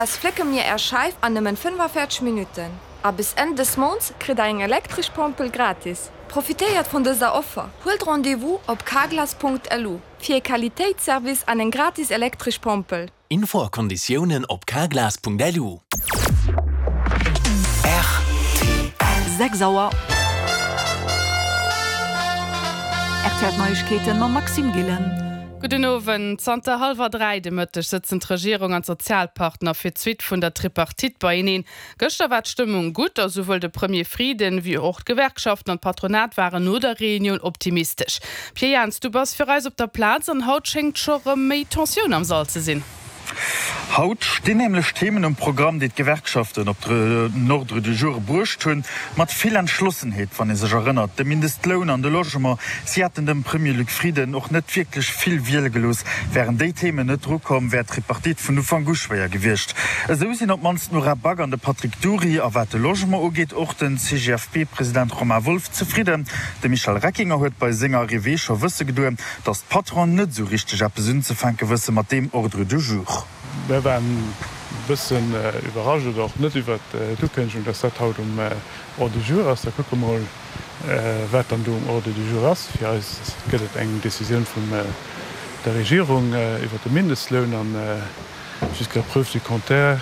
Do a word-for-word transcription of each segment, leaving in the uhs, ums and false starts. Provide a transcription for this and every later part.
Eis flécke mir Är Scheif an nëmmen fënnefavierzeg Minutten. A bis Enn des Mounts kritt der eng elektresch Pompel gratis. Profitéiert vun dëser Offer! Huelt Rendez-vous op carglass punkt L U fir e Qualitéitsservice an eng gratis elektresch Pompel. Info a Konditiounen op carglass punkt L U. Sechs Auer. R T L Neiegkeeten mam Maxime Gillen. Gudden Owend. Zanter hallwer dräi de Mëtteg sëtzen d'Regierung an d'Sozialpartner fir d'Suite vun der Tripartite beieneen. Gëschter war d'Stëmmung gutt a souwuel de Premier Frieden wéi och d'Gewerkschaften an d'Patronat waren no der Reunioun optimistesch. Pierre Jans, du bass fir eis op der Plaz an haut schéngt scho rëm méi Tensioun am Sall ze sinn. Haut stinn nämlech Themen um Programm, déi d'Gewerkschaften op den Ordre du jour bruecht hunn, mat vill Entschlossenheet, wann ee sech erënnert, de Mindestloun an de Logement. Si hätten dem Premier Luc Frieden och net wierklech vill Wiel gelooss. Wären déi Themen net drukomm, wär d'Tripartite vun Ufank u schwéier gewiescht. Esou sinn op d'mannst d'Nora Back an de Patrick Dury, a wat de Logement ugeet och den C G F P-President Romain Wolff zefridden. De Michel Reckinger huet bei senger Arrivée scho wësse gedoen, datt d'Patronen net esou richteg eppes unzefänke wësse mat deem Ordre du jour. Mir waren e bëssen iwwerrascht oder och net iwwer d'Ukënnegung, dass dat haut um Ordre du jour ass. Da kucke mer mol, wat dann do um Ordre du jour ass. Fir eis gëtt et eng Decisioun vun der Regierung iwwer de Mindestloun an jusqu'à preuve du contraire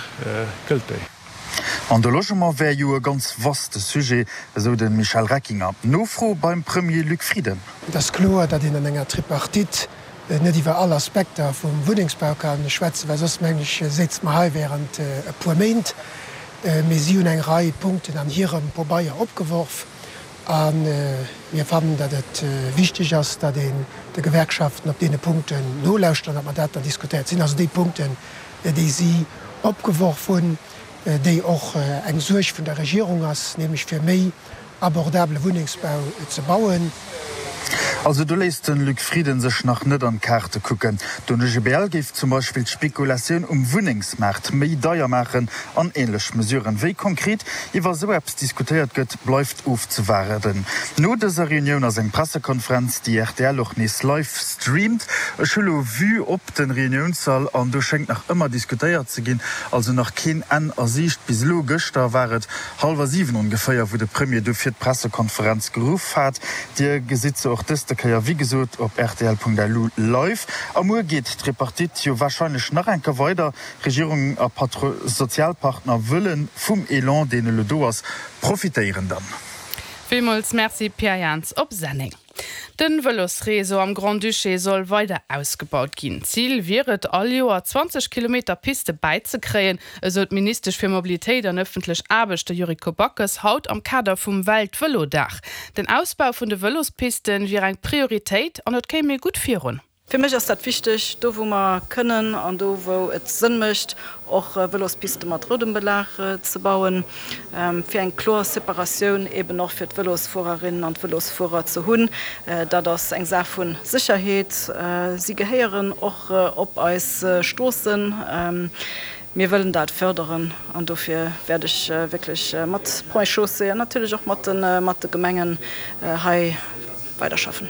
gëllt déi. An de Logement wär jo e ganz vaste Sujet, esou de Michel Reckinger. Nofro beim Premier Luc Frieden. Et ass kloer, datt een an enger Tripartite net iwwer all Aspekter vum Wunnengsbau ka schwätzen, well soss, mengen ech, séize mer hei während e puer Méint. Mee si hunn eng Rei Punkten an hirem Pabeier opgeworf a mir fannen, datt et wichteg ass, datt een de Gewerkschaften op deene Punkten nolauschtert an datt mer dat dann diskutéiert. Et sinn also déi Punkten, déi si opgeworf hunn, déi och eng Suerg vun der Regierung ass, nämlech fir méi abordabele Wunnengsbau ze bauen. Also do léisst de Luc Frieden sech nach net an d'Kaarte kucken. Den O G B L géif zum Beispill d'Spekulatioun um Wunnengsmaart méi deier maachen an änlech Mesuren. Wéi konkret iwwer esou eppes diskutéiert gëtt, bleift ofzewaarden. No dëser Reunioun ass eng Pressekonferenz, déi R T L och nees live streamt. Ech hu lo Vue op de Reuniounssall an do schéngt nach ëmmer diskutéiert ze ginn, also nach keen Enn a Siicht. Bis elo gëschter war et hallwer siwen ongeféier, wou de Premier du fir d'Pressekonferenz geruff hat. Dir gesitt se och dëste Kéier wéi gesot op rtl Punkt L U live. A muer geet d'Tripartite jo warscheinlech nach eng Kéier weider. Regierung a Patro Sozialpartner wëlle vum Elan, deen elo do ass, profitéieren dann. Villmools Merci Pierre Jans op Senneng. Den Vëlosreseau am Grand-Duché soll weider ausgebaut ginn. Zil wier et all Joer zwanzeg Kilometer Piste bäizekréien, esou d'Ministesch fir Mobilitéit an ëffentlech Aarbechte Yuriko Backes haut am Kader vum Weltvëlodag. Den Ausbau vun de Vëlospisten wier eng Prioritéit an et kéim ee gutt virun. Fir mech ass dat wichteg, do wou mer kënnen an do wou et Sënn mécht, och Vëlospiste mat roudem Belag ze bauen, fir eng kloer Separatioun eben och fir d'Vëlosfuererinnen an d'Vëlosfuerer ze hunn. Dat ass eng Saach vu Sécherheet. Si gehéieren och op eis Stroossen. Mir wëllen dat fërderen an dofir wäert ech wierklech mat Ponts et Chaussées an natierlech och mat de Gemengen hei weiderschaffen.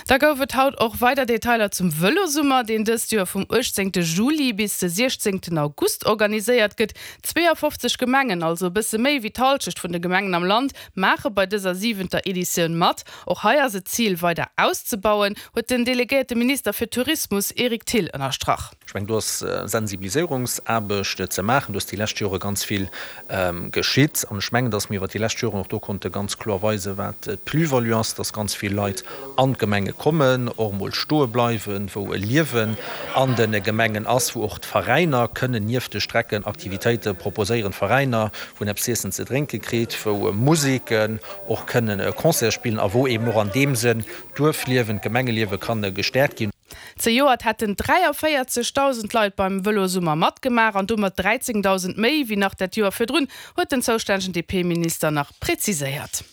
Da gouf et haut och weider Detailer zum Vëlosummer, deen dëst Joer vum uechtzéngte Juli bis de siechzéngten August organiséiert gëtt. zweeëfofzeg Gemengen, also e bësse méi wéi d'Hallschecht vun de Gemengen am Land, maache bei dëser siwenter Editioun mat. Och hei ass et d'Zil weider auszebauen, huet den delegéierte Minister fir Tourismus Eric Thill ënnerstrach. Ech mengen, do ass Sensibiliséierungsaarbecht ze maachen. Do ass déi lescht Jore ganz vill geschitt. An ech mengen, datt mir iwwer déi lescht Joren och do konnte ganz kloer weisen, wat d'Plus-value ass, datt ganz vill Leit an d'Gemenge kommen, och emol stoe bleiwen, wou e Liewen an de Gemengen ass, wou och d'Veräiner kënnen nieft de Strecken Aktivitéite proposéieren, Veräiner, wou een eppes z'iessen, ze drénke kritt, wou Museken och kënnen Concerte spillen a wou eben och an deem Sënn d'Duerfliewen, d'Gemengeliewe kann gestäerkt ginn. Zejoert hätten dräiavéierzegdausend Leit beim Vëlosummer matgemaach an domat dräizéngdausend méi wéi nach dat Joer virdrun, huet den zoustännegen D P-Minister nach präziséiert.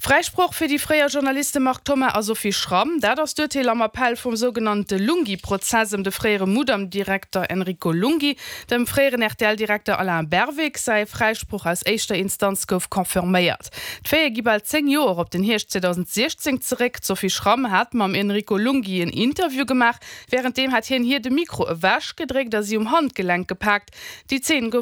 Fräisproch fir déi fréier Journaliste Marc Thoma a Sophie Schramm, dat ass d'Urteel am Appell vum sougenannte Lunghi-Prozess ëm de fréiere Mudam-Direkter Enrico Lunghi. Dem fréieren R T L-Direkter Alain Berwick säi Fräisproch aus éischter Instanz gouf confirméiert. D'Faite gi bal zéng Joer op den Hierscht zweedausendsiechzéng zeréck. D'Sophie Schramm hat mam Enrico Lunghi en Interview gemaach, wärenddeem hat hien hir de Mikro ewechgedréckt a si um Handgelenk gepaakt. Déi Zeen gouf